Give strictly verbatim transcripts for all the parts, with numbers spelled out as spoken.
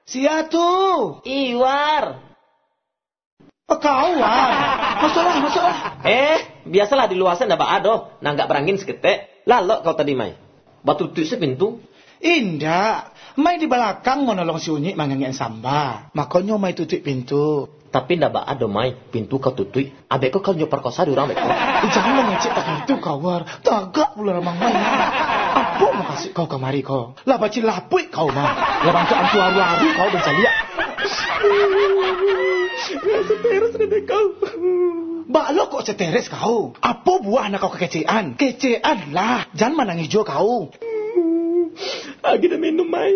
Sia tu? Iwar. Oh, kau, War. Masuklah, masuklah. Eh, biasalah di lua sana ndak baa doh. Nanggak barangin saketek. Lalok kau tadi, Mai. Batutuik se pintu. Indak. Mai di balakang manolong si Unyik mangangek samba. Makonyo Mai tutuik pintu. Tapi ndak baa doh, Mai. Pintu kau tutuik. Abek kau kalau nyo parkosa di urang beko. Eh, jangan mangecek tak itu kau, War. Tagak pulo ramang Mai. Apo mukasuik kau kamari ko? Lah bacilapuik kau mah. Lah bantuak antu aru-aru kau bancaliak. Stres dek kau. Baa lo kok stres kau? Apo buah nan kau kakecekan? Kecekan lah. Jan manangih juo kau. Agiah dah minum, Mai.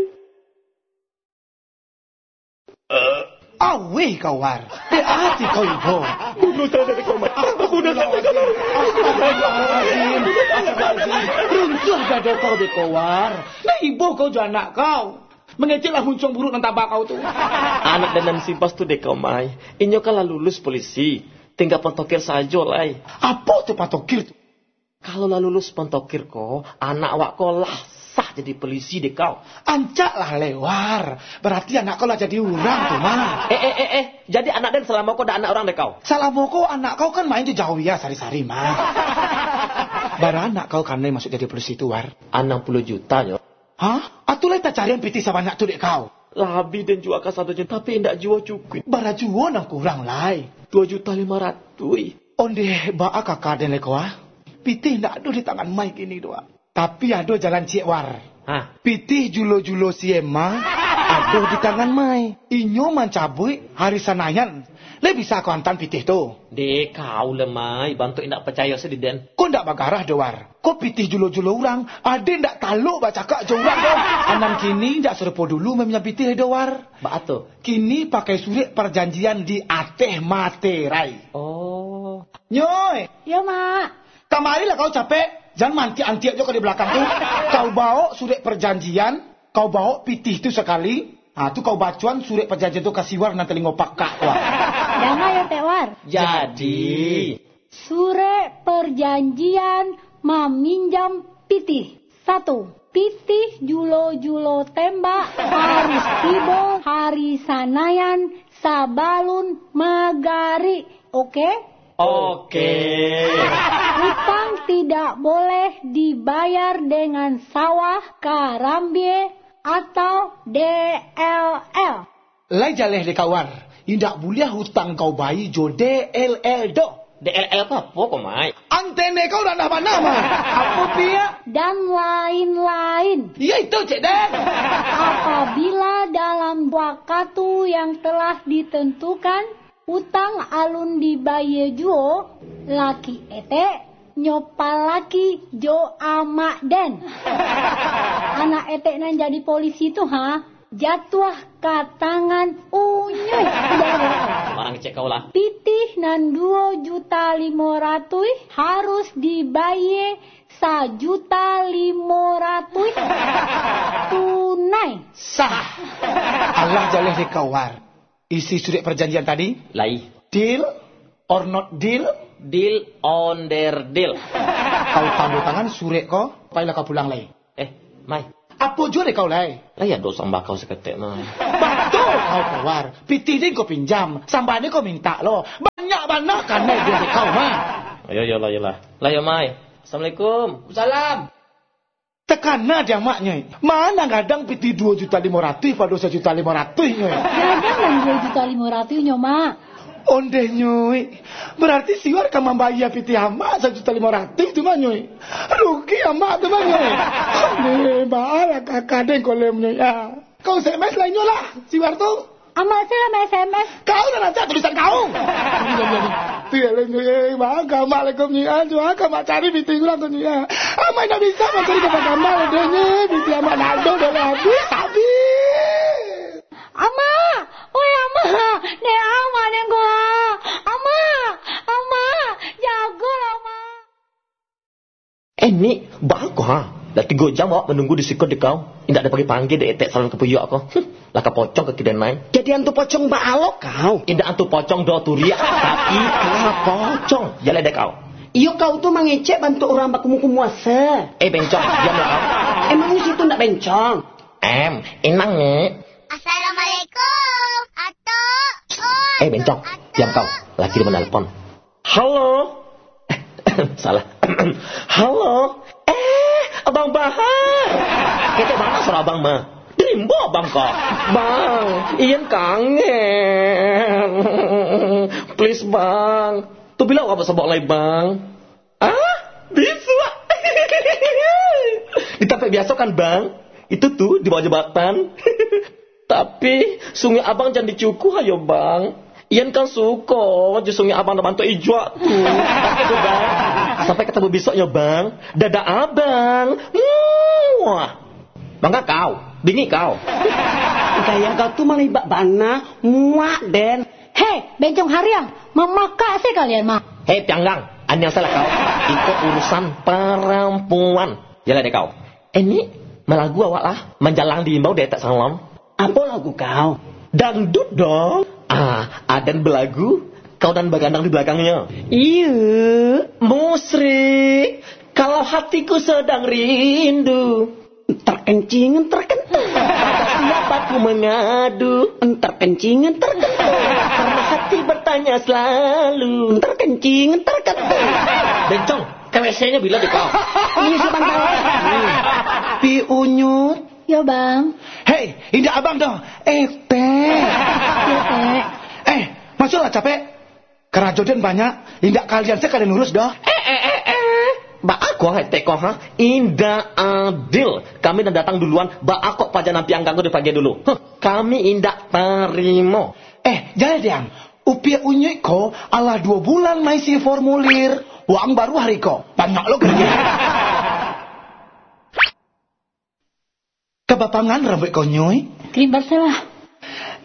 Aweh kau, War. Dek ati kau ibo. Bunuh sajo dek kau, Mai. Bunuh sajo dek kau, Mai. Astagfirullahalazim. Astagfirullahalazim. Runtuah dado kau dek kau, War. Dah ibo kau jo anak kau. Mangecek lah muncuang buruak nan taba kau tu. Anak den nan si Bas tu dek kau, Mai. Inyo kan lah lulus polisi. Tingga pantokir sajo lai. Apo tu pantokir tu? Kalau lah lulus pantokir ko, anak awak ko lah sah jadi polisi dek kau. Ancak lah lai, War. Barati anak kau lah jadi urang tu mah. Eh, eh, eh, eh. Jadi anak den salamo ko dak anak urang dek kau? Salamo ko anak kau kan main jo Jawia sari-sari mah. Bara anak kau kanai masuak jadi polisi tu, War? Anam puluah juta nyo. Hah? Atu lai tacarian pitih sabanyak tu dek kau? Labiah den jua kasadonyo, tapi indak juo cukuik. Bara juo nan kurang lai? Duo juta limo ratuih. Ondeh, baa kaka den lai ko, ah? Pitih indak ado di tangan Mai kini tu, ah. Tapi ado jalan ciek, War. Hah? Pitih julo-julo si Emma ado di tangan Mai. Inyo mancabuik hari Sanayan. Lai bisa kau antaan pitih tu? Dek kau lah, Mai, bantuak indak pacayo se di den. Ko ndak bagarah doh, War. Ko pitih julo-julo urang, aden ndak talok bacakak jo urang doh. Anan kini ndak sarupo dulu mamian pitih lai doh, War. Baa tu? Kini pakai surek parjanjian di ateh materai. Oh. Nyoi. Yo, Mak. Kamarilah kau capek, jan mantiak-antiak jo kau di balakang tu. Kau bawok surek parjanjian, kau bawok pitih tu sakali. Ha, tu kau bacoan surek parjanjian tu ka si War nan talingo pakak tu, ah. Danga yo, Tek War. Jadi. Surek parjanjian maminjam pitih. Satu, pitih julo-julo tembak harus tibo hari Sanayan sabalun magarik. Oke? Oke. Utang tidak boleh dibayar dengan sawah, karambia, atau D L L. Lai jaleh dek kau, War. Indak buliah utang kau bayia jo D L L doh. D L L tu apo ko, Mai? Antene kau randah bana, Mai. Apo pia? Dan lain-lain. Iyo itu, Cek Den. Apabila dalam wakatu yang telah ditentukan, utang alun dibayia juo, laki etek nyo palaki jo amak den. Anak etek nan jadi polisi tu, ha, jatuah ka tangan Unyuik. Barang kecek kau lah. Pitih nan duo juta limo ratuih harus dibayia sajuta limo ratuih tunai. Sah. Alah jaleh dek kau, War. Isi surek parjanjian tadi? Lai. Deal or not deal? Deal on their deal. Kau tando tangan surek ko, pailah kau pulang lai. Eh, Mai. Apo juo dek kau lai? Lai ado samba kau saketek, Mai. Batua kau, War. Pitih den kau pinjam, samba den kau mintak lo. Banyak bana kanai den dek kau, Mai. Ayo, yolah, yolah. Lah yo, Mai. Assalamualaikum. Salam. Takana di amaknyo, eh. Ma nan gadang pitih duo juta limo ratuih pado sajuta limo ratuih nyo, eh. Gadang nan duo juta limo ratuih nyo, Mak. Ondeh, Nyuik. Barati si War ka mambayia pitih amak sajuta limo ratuih tu mah, Nyuik. Rugi amak tu mah, Nyuik. Ondeh, baalah kaka den ko lem, Nyuik, ah. Kau S M S lah inyo lah, si War tu. Amak se lah ma-S M S. Kau lah rancak tulisan kau. Tiap lah, Nyuik, eh, baa ka amak lah ko, Nyuik, ah. Cubo ka amak cari pitih urang ko, Nyuik, ah. Amak indak bisa mancari gambar-gambar, ondeh, Nyuik. Pitih amak ndak ado, dah lah habis, habis. Ama! Oi, Ama! Dek Ama, dek ko, ah! Ama! Ama! Jagolah, Ama! Eh, Nik, baa ko, ha? Lah tigo jam awak manunggu di siko dek kau. Indak dipanggia-panggia dek etek salon kapuyuak ko. Huh, lah ka pocong kaki den lai. Jadi antu pocong baa lo kau? Indak antu pocong doh, turiak, tapi ka pocong. Jaleh dek kau. Iyo, kau tu mangecek bantuak urang bakumuh-kumuh asa. Eh, bencong, diamlah kau. Emangnya situ ndak bencong? Em, inang, Nik. Assalamualaikum, Atok. Oi, Eh, Bencong, Atok. Diam kau. Laki dia menelpon. Halo. Salah. Halo. Eh, Abang Bahar. Ketek bana suara abang mah. Di rimbo abang ko. Bang, Ian kangen. Please, Bang. Tu bilo awak basobok lai, Bang? Ah, bisuak. Di tampek biaso kan, Bang? Itu tu, di bawah jambatan. Tapi, sunguik abang jan dicukuah yo, Bang. Ian kan suko jo sunguik abang nan bantuak ijuak tu. Itu, Bang. Sampai katamu bisuak yo, Bang. Dadah, Abang. Muah. Bangga kau, bingik kau. Gaya kau tu malibak bana, muak den. Hei, Bencong Hariang, mamakak se kalian mah. Hei, Pianggang, aniang salah kau. Iko urusan parampuan. Jalan deh kau. Eh, ni, malagu awak lah, manjalang di imbau dek tak salon. Apo lagu kau? Dangdut dong. Ah, aden balagu, kau nan bagandang di balakangnya. Iya. Musrik, kalau hatiku sedang rindu. Terkencing, terkentut. Siapa ku mengadu? Terkencing, terkentut. Karena hati bertanya selalu. Terkencing, terkentut. Bencong, K W C-nyo bilo di kau? Ini sebentar. Pi Unyut. Yo, Bang. Hei, indak abang doh. Etek. Yo, Tek. Eh, masuklah capek. Karajo den banyak, indak kalian se ka den urus doh. Eh, eh, eh, eh. Baa ko, Etek ko, ha? Indak adil. Kami nan datang duluan, baa kok paja nan Pianggang ko dipagia dulu? Huh, kami indak tarimo. Eh, jaleh diam. Upiak Unyuik ko alah duo bulan maisi formulir. Waang baru hari ko. Banyak lo kerja. Ka bapangan rambuik kau, Nyuik? Krim Barselah.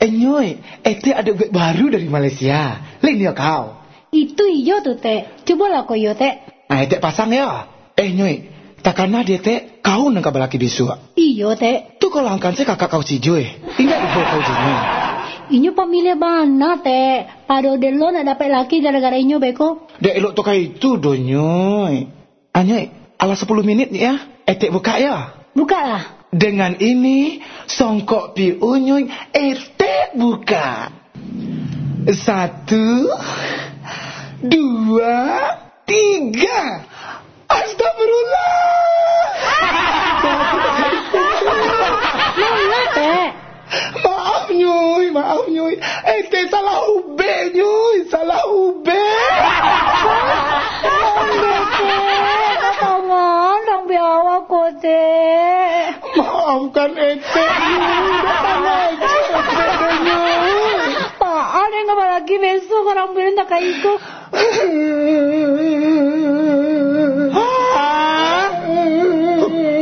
Eh, Nyuik, Etek ado ubek baru dari Malaysia. Lain yo kau. Itu iyo tu, Tek. Cubolah ko iyo, Tek. Ah, Etek pasang yo. Eh, Nyuik, takana di Etek, kau nan ka balaki bisuak. Iyo, Tek. Tu kalau angkan se kakak kau si Jui. Indak ibo kau Jui. Inyo pamiliah bana, Tek. Pado delo nak dapek laki gara-gara inyo beko. Dek elok tu ka itu doh, Nyuik. Anyuik, alah sapuluah minit ni ya. Etek bukak ya. Bukaklah. Dengan ini, songkok Pi Unyuik, Etek bukak. Satu, dua, tiga. Astagfirullah. Maaf, Nyuik, maaf, Nyuik. Etek salah ubek, Nyuik, salah ubek. Tangan dong biawa ko, Tek. Maafkan Etek, Nyuik. Tangan Etek, Etek, Nyuik. Paan yang nggak lagi besok orang bilang tak kayak itu.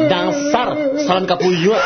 Dasar salon kapuyuak.